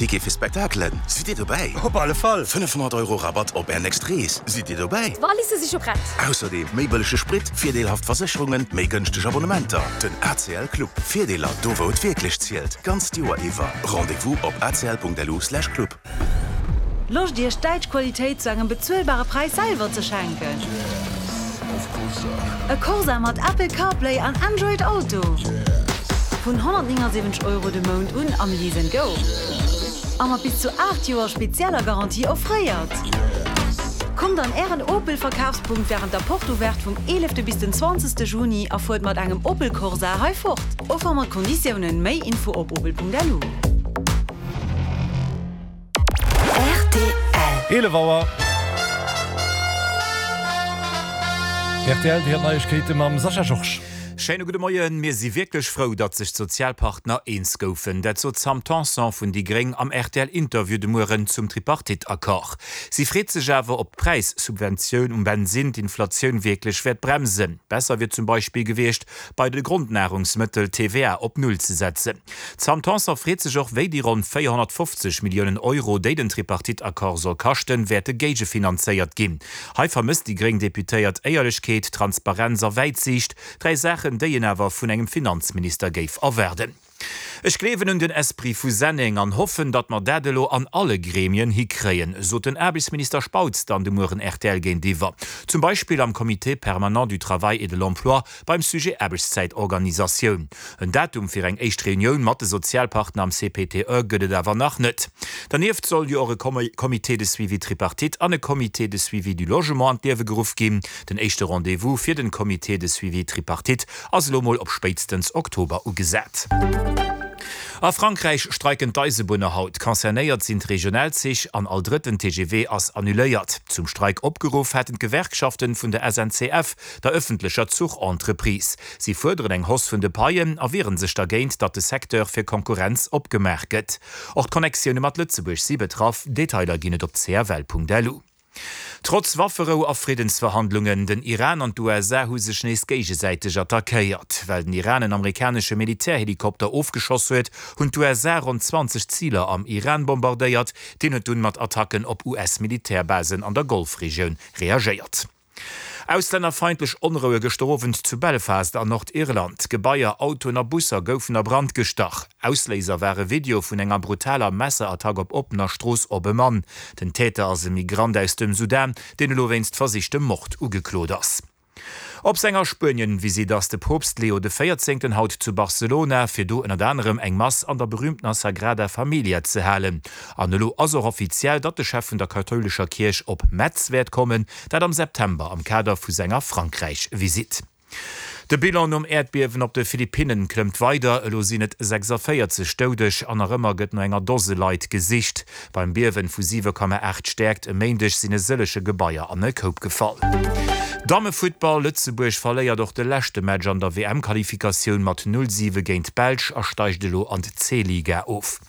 Ticket fir Spektakelen, sidd Dir dobäi? Op alle Fall! 500 Euro Rabatt op Är nächst Rees, sidd Dir dobäi? D'Walisse si scho prett! Ausserdeem méi bëllege Sprit, virdeelhaft Versécherungen, méi gënschteg Abonnementer. Den ACL Club, Virdeeler do wou et wierklech zielt, d'ganzt Joer iwwer. Rendez-vous op acl.lu/club. Loscht Iech däitsch Qualitéit zu engem bezuelbare Präis selwer ze schenken? E Corsa mat Apple CarPlay an Android Auto? Vun 179 Euro de Mount un am Lease and Go a mat bis zu 8 Joer spezieller Garantie offréiert. Kommt an Ären Opel Verkafspunkt wärend der Porte Ouverte vum 11 bis den 20 Juni a fuert mat engem Opel Corsa hei fort. Offer mat Konditiounen. Méi Info op opel.lu. Rtl. 11 Auer. Rtl, Dir hiert Neiegkeete mam Sascha Georges. Schéine gudde Moien. Mir si wierklech frou, datt sech d'Sozialpartner eens goufen. Dat sot d'Sam Tanson vun déi Gréng am RTL-Interview de Mueren zum Tripartite-Accord. Si freet sech awer, ob d'Präissubventioun um Bensinn d'Inflatioun wierklech wäert bremsen. Besser wier zum Beispill gewiescht, bei de Grondnahrungsmëttel d'TVA op Null ze setzen. D'Sam Tanson freet sech och, wéi déi ronn 450 Milliounen Euro, déi den Tripartite-Accord soll kaschten, wäerte géigefinanzéiert ginn. Hei vermësst déi gréng Deputéiert Éierlechkeet, Transparenz a Wäitsiicht, dräi Saachen, déi een awer vun engem Finanzminister géif erwaarden. Ech gleewen un den Esprit vu Senneng an hoffen, datt mer dat elo an alle Gremien hikréien, sot den Aarbechtsminister Spautz dann de Mueren rtl géintiwwer. Zum Beispill am Comité permanent du travail et de l'emploi beim Sujet Aarbechtszäitorganisatioun. En Datum fir eng éischt Reunioun mat de Sozialpartner am CPTE gëtt et awer nach net. Dernieft soll jo och e Comité de suivi tripartite an e Comité de suivi du logement an d'Liewe geruff ginn. Den éischte Rendez-vous fir den Comité de suivi tripartite ass elo mol op spéitstens Oktober ugesat. A Frankräich streiken d'Eisebunner haut. Concernéiert sinn d'Regionalzich an all drëtten TGV ass annuléiert. Zum Streik opgeruff haten d'Gewerkschaften vun der SNCF, der ëffentlecher Zuchentreprise. Si fuerderen eng Hausse vun de Paien a wieren sech dergéint, datt de Secteur fir Konkurrenz opgemaach gëtt. Och d'Connectioune mat Lëtzebuerg si betraff. Detailer ginn et op cfl.lu. Trotz Wafferou a Friddensverhandlungen, den Iran an d'USA hu sech nees géigesäiteg attackéiert. Well den Iran en amerikanesche Militärhelikopter ofgeschoss huet, hunn d'USA ronn 20 Ziler am Iran bombardéiert. Deen huet dunn mat Attacken op US-Militärbasen an der Golfregioun reagéiert. Auslännerfeindlech Onroue gëschter Owend zu Belfast an Nordirland. Gebaier, Autoen a Busser goufen a Brand gestach. Ausléiser war e Video vun enger brutaler Messerattack op oppener Strooss op e Mann. Den Täter ass e Migrant aus dem Sudan, deen elo wéinst versichtem Mord ugeklot ass. Op senger Spuenien-Visitt ass de Poopst Leo de Véierzéngten haut zu Barcelona, fir do ënnert anerem eng Mass an der berüümtener Sagrada Familia ze halen. An elo ass och offiziell, datt de Chef vun der kathoulescher Kierch op Metz wäert kommen, dat am September am Kader vu senger Frankräich-Visitt. De Bilan nom Äerdbiewen op de Philippinnen klëmmt weider, elo sinn et 46 Doudeg an nach ëmmer gëtt no enger Dose Leit gesicht. Beim Biewen vu 7,8 Stäerkt e Méindeg sinn e sëllege Gebaier an e Koup gefall. Dammefuttball, Lëtzebuerg verléiert och de leschte Match an der WM-Qualifikatioun mat 0, 7 géint d'Belsch a steigt elo an d'C-Liga of.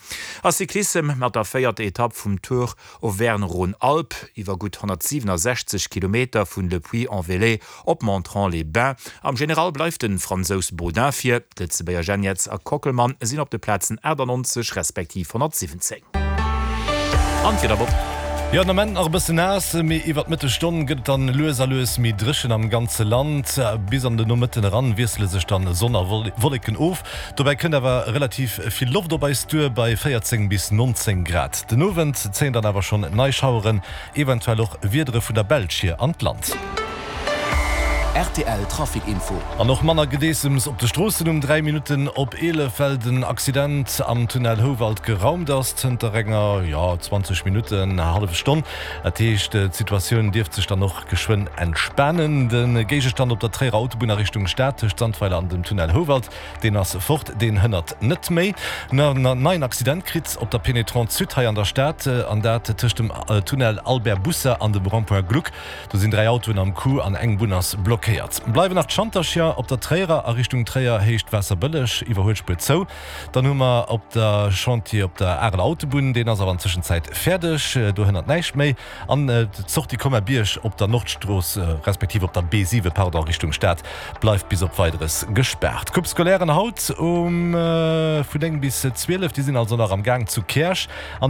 A Cyclissem, Mat der véierter Etapp vum Tour Auvergne-Rhône-Alpes iwwer gutt 167 Kilometer vun Le Puy-en-Velay op Montrond-les-Bains. Am General bleift de Fransous Baudin vir. D'Lëtzebuerger Geniets a Kockelmann sinn op de Plazen 98 respektiv 117. An d'Wieder, Bob. Jo, den Ament nach e bësse naass, mee iwwer d'Mëttesstonn gëtt et dann lues a lues méi dréchen am ganze Land. Bis an de Nomëtten eran wiessele sech dann Sonn a Wolleken of. Dobäi kënnt awer relativ vill Loft op eis duer bei 14 bis 19 Grad. Den Owend zéien dann awer schonn nei Schaueren, eventuell och Wiedere vun der Belsch hier an d'Land. Rtl Trafic Info. An och manner Gedeessems op de Stroossen um 3 Minutten op 11, well den Accident am Tunnel Houwald geraumt ass zënter enger, jo, 20 Minutten, hallef Stonn. Dat heescht, d'Situatioun dierft sech dann och geschwënn entspanen. De Géigestand op der Tréierer Autobunn a Richtung Stad tëscht Sandweiler an dem Tunnel Houwald, deen ass fort, deen hënnert net méi. En neien Accident kritt op der Pénétrante Sud hei an der Stad, an dat tëscht dem Tunnel Albert Bousser an dem Rond-point Gluck. Do sinn 3 Autoen am Coup an eng Bunn ass blockéiert. blockéiert. Bleiwen nach d'Schantercher op der Tréierer a Richtung Tréier, Héicht Waasserbëlleg, Iwwerhuelspuer zou. Dann hu mer op der Chantier op der Areler Autobunn, deen ass awer an Tëschenzäit fäerdeg, do hënnert näischt méi. An d'Sortie Colmar-Bierg op der Nordstrooss, respektiv op der B7, pardon, Richtung Stad bleift bis op Weideres gespaart. D'Coupe Scolairen haut um vun 9 bis 12, déi sinn also nach am Gaang zu Käerch. An.